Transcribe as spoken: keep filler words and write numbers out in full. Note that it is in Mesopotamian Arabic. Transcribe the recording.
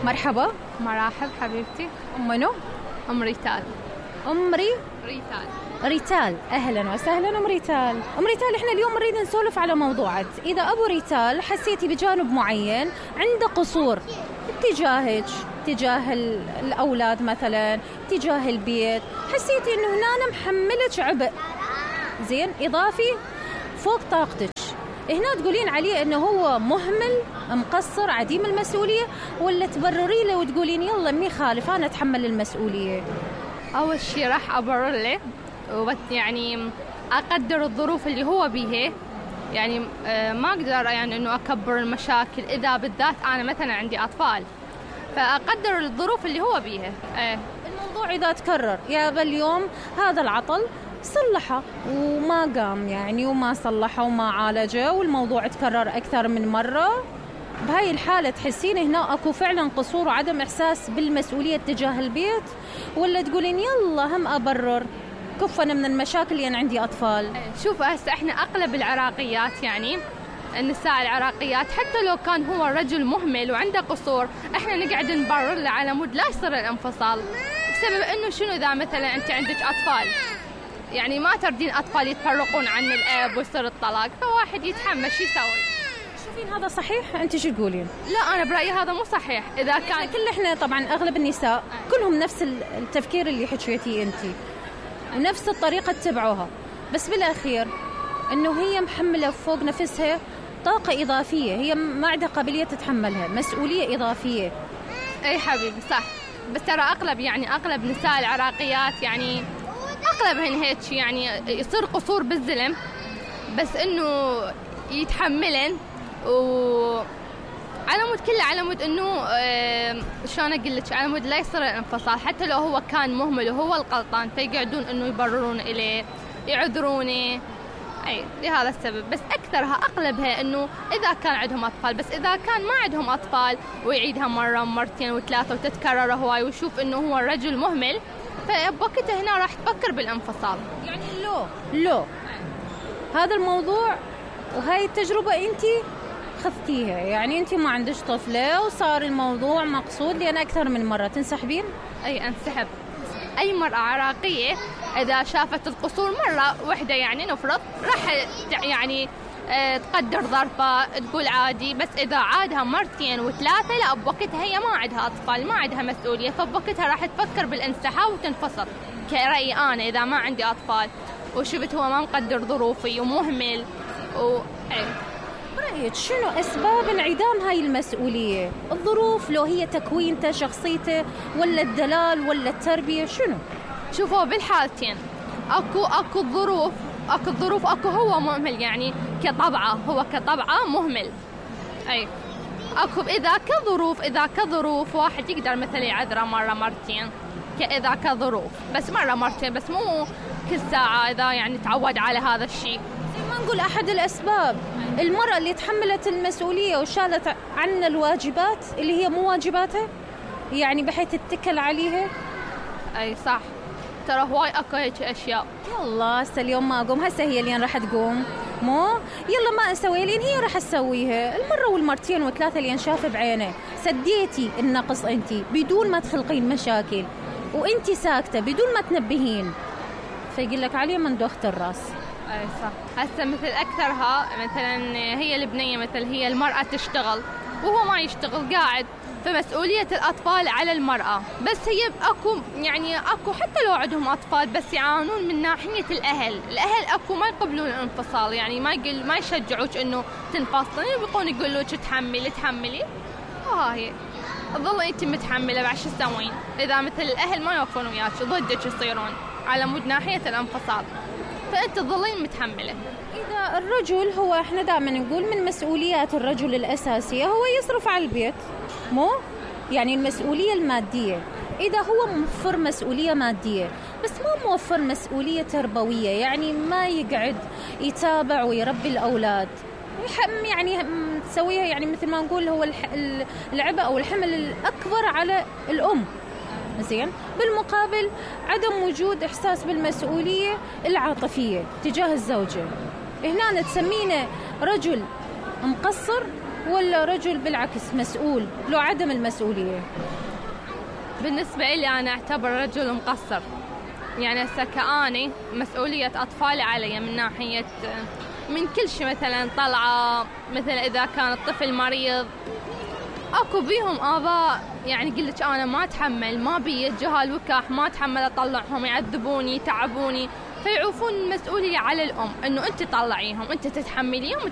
مرحبا. مرحب حبيبتي. أم منو؟ أم ريتال. أم ري؟ ريتال. ريتال، أهلا وسهلا أم ريتال. أم ريتال، إحنا اليوم نريد نسولف على موضوعات. إذا أبو ريتال حسيتي بجانب معين عنده قصور تجاهك، تجاه الأولاد مثلا، تجاه البيت، حسيتي إنه هنا محملك عبء زين إضافي فوق طاقتك، هنا تقولين عليه إنه هو مهمل، مقصر، عديم المسؤولية، ولا تبرري له وتقولين يلا مني خالف أنا أتحمل المسؤولية؟ أول شيء راح أبرر له وبت يعني أقدر الظروف اللي هو بيها، يعني ما أقدر يعني إنه أكبر المشاكل إذا بالذات أنا مثلا عندي أطفال، فأقدر الظروف اللي هو بيها. إيه. الموضوع إذا تكرر يا باليوم هذا العطل صلحه وما قام يعني وما صلحه وما عالجه والموضوع تكرر أكثر من مرة، بهاي الحالة تحسين هنا أكو فعلا قصور وعدم إحساس بالمسؤولية تجاه البيت، ولا تقولين يلا هم أبرر كفنا من المشاكل لأن عندي أطفال؟ شوف هسه إحنا أغلب العراقيات يعني النساء العراقيات حتى لو كان هو رجل مهمل وعنده قصور إحنا نقعد نبرر له على مود لا يصير الانفصال، بسبب إنه شنو إذا مثلا أنت عندك أطفال يعني ما تردين أطفال يتفرقون عن الأب ويصير الطلاق، فواحد يتحمل شو يسوي؟ شوفين هذا صحيح؟ أنت شو تقولين؟ لا أنا برأيي هذا مو صحيح. إذا كان كل إحنا طبعا أغلب النساء كلهم نفس التفكير اللي حكيتيه أنت ونفس الطريقة تتبعوها، بس بالأخير إنه هي محملة فوق نفسها طاقة إضافية، هي ما عندها قابلية تتحملها، مسؤولية إضافية. أي حبيبي صح، بس ترى أغلب يعني أغلب نساء العراقيات يعني أغلبهن هيك يعني يصير قصور بالزلم، بس إنه يتحملن و على مود كله على مود إنه اه شلون أقول لك، على مود لا يصير الانفصال حتى لو هو كان مهمل وهو الغلطان، فيقعدون إنه يبررون إليه يعذرونه. أي لهذا السبب، بس أكثرها أغلبها إنه إذا كان عندهم أطفال، بس إذا كان ما عندهم أطفال ويعيدها مرة مرتين وثلاثة وتتكرر هواي ويشوف إنه هو رجل مهمل، فبوقتها هنا راح تفكر بالانفصال. يعني لو لو هذا الموضوع وهاي التجربة أنتي خذتيها، يعني أنتي ما عندش طفلة وصار الموضوع مقصود لأن أكثر من مرة تنسحبين؟ أي أنسحب. أي مرأة عراقية إذا شافت القصور مرة واحدة يعني نفرض راح يعني اه تقدر ظرفة تقول عادي، بس إذا عادها مرتين وثلاثة لا بوقتها هي ما عندها أطفال ما عندها مسؤولية، فبوقتها راح تفكر بالانسحاب وتنفصل. كرأيي أنا إذا ما عندي أطفال وشفت هو ما مقدر ظروفي ومهمل و برأيك شنو أسباب انعدام هاي المسؤولية؟ الظروف لو هي تكوينته شخصيته ولا الدلال ولا التربية شنو؟ شوفوا بالحالتين أكو أكو الظروف أكو الظروف أكو هو مهمل يعني كطبعه هو كطبعه مهمل. أي أكو إذا كظروف إذا كظروف واحد يقدر مثلا يعذره مرة مرتين كإذا كظروف، بس مرة مرتين بس مو كل ساعة إذا يعني تعود على هذا الشيء. ما نقول أحد الأسباب المرأة اللي تحملت المسؤولية وشالت عنا الواجبات اللي هي مو واجباتها، يعني بحيث تتكل عليها. أي صح، ترى هواي أكو هيك أشياء. يلا هسه اليوم ما أقوم، هسه هي اللي راح تقوم، مو يلا ما أسوي لين هي راح تسويها المرة والمرتين وثلاثة اللي شافه بعينه. سديتي النقص أنتي بدون ما تخلقين مشاكل وأنتي ساكتة بدون ما تنبهين، فيقول لك عليه من دوخة الراس. أي صح. هسه مثل أكثرها مثلا هي البنية مثل هي المرأة تشتغل وهو ما يشتغل قاعد، فمسؤولية الأطفال على المرأة، بس هي أكو يعني أكو حتى لو عندهم أطفال بس يعانون من ناحية الأهل، الأهل أكو ما يقبلون الانفصال، يعني ما يقول ما يشجعوك إنه تنفصلي ويبقون يقولوا تحملي تحملي ها هي تظل أنت متحملة بعد شو تسوين إذا مثل الأهل ما يوقفون وياك ضدك يصيرون على مود ناحية الانفصال، فأنت تظلين متحملة. إذا الرجل هو إحنا دائما نقول من مسؤوليات الرجل الأساسية هو يصرف على البيت، مو يعني المسؤولية المادية، إذا هو موفر مسؤولية مادية بس ما موفر مسؤولية تربوية، يعني ما يقعد يتابع ويربي الأولاد يعني تسويها، يعني مثل ما نقول هو العبء أو الحمل الأكبر على الأم. زين، بالمقابل عدم وجود إحساس بالمسؤولية العاطفية تجاه الزوجة، هنا تسمينه رجل مقصر والرجل بالعكس مسؤول لو عدم المسؤولية؟ بالنسبة لي أنا أعتبر رجل مقصر. يعني هسه كأني مسؤولية أطفالي علي من ناحية من كل شيء، مثلا طلعة، مثلا إذا كان الطفل مريض أكو بيهم آباء يعني قلت أنا ما أتحمل، ما بي الجهال وكاح، ما أتحمل أطلعهم يعذبوني يتعبوني، فيعوفون المسؤولية على الأم إنه أنت تطلعيهم، أنت تتحمليهم